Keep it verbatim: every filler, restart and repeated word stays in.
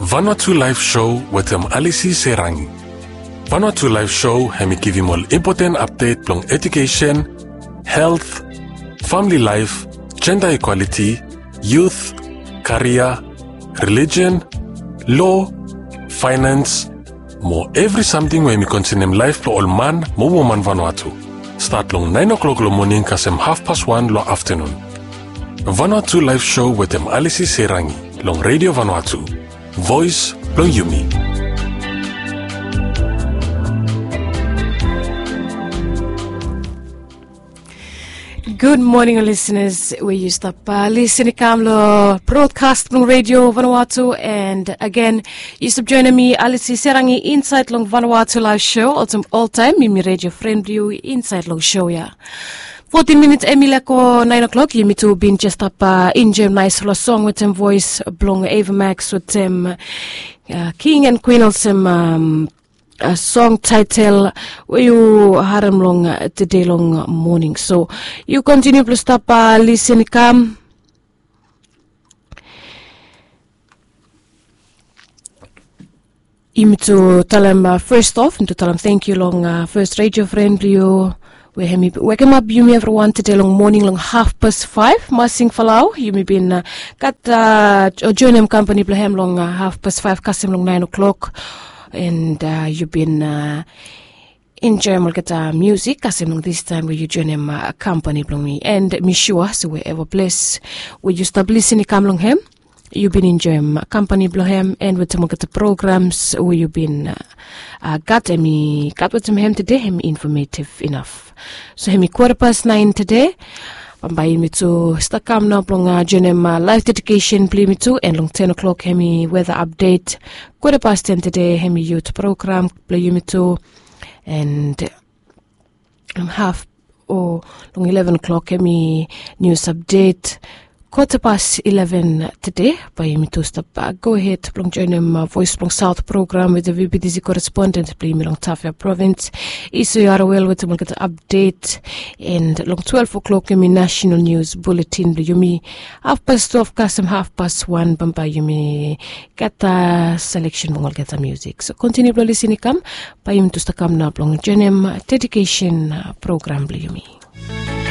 Vanuatu Live Show wetem Alisi Serangi. Vanuatu Live Show hemi givim ol impoten apdet blong edukesen, helt, famili laef, jenda ikwaliti, yut, karia, relijen, lo, faenans, mo evri samting we hemi konsenem laef blong ol man mo woman Vanuatu. Stat long naen o'klok long moning kasem hafpas wan long aftanun. Vanuatu Live Show wetem Alisi Serangi long Redio Vanuatu, voes blong yumi. Gud moning ol lisenas we yu stap lisin i kam long brodkas blong Redio Vanuatu. And agen, yu stap joenem mi Alisi Serangi insaed long Vanuatu Live Show olsem oltaem. Mi mi redio fren blong yu insaed long show ya. Fotin minits hemi laek go naen o'klok. Yumi tu bin jes stap enjoem naes long song wetem voes blong Ava Max wetem king and kwin olsem song taetel we yu harem long tede long moning. So yu kontiniu blong stap lisin i kam. Yumi tu talem fes of, yumi tu talem tangkiu long fes redio fren blong yu we hemi wekemap yumi evriwan tede long moning long hafpas faef. Masing Falau, yumi bin gat o joenem kampani blong hem long hafpas faef kasem long naen o'klok. And yu bin enjoem olgeta musik kasem long distaem we yu joenem kampani blong mi. And mi sua se we eva ples we yu stap lisin i kam long hem, yu bin enjoem kampani blong hem and wetem olgeta programs we yu bin gat, hemi gat wetem hem tede, hemi infometiv inaf. So hemi kwata pas naen tede. Bambae yumi tu stap kam nao blong joenem laef dedikesen blong yumi tu, and long ten o'klok hemi weta apdet. Kwata pas ten tede hemi yut program blong yumi tu. And haf o long ileven o'klok hemi nius apdet. Kwata pas ileven tede bae yumi tu stap gohed blong joenem voes blong saot program wetem vptc koresponden blong yumi long Tafea Provins, Iso Yarawel, wetem olgeta apdet. And long twelef o'klok hemi nasenal nius buletin blong yumi. Hafpas twelef kasem hafpas wan bambae yumi gat seleksen blong olgeta musik. So kontiniu blong lisin i kam, bae yumi tu stap kam nao blong joenem dedikesen program blong yumi.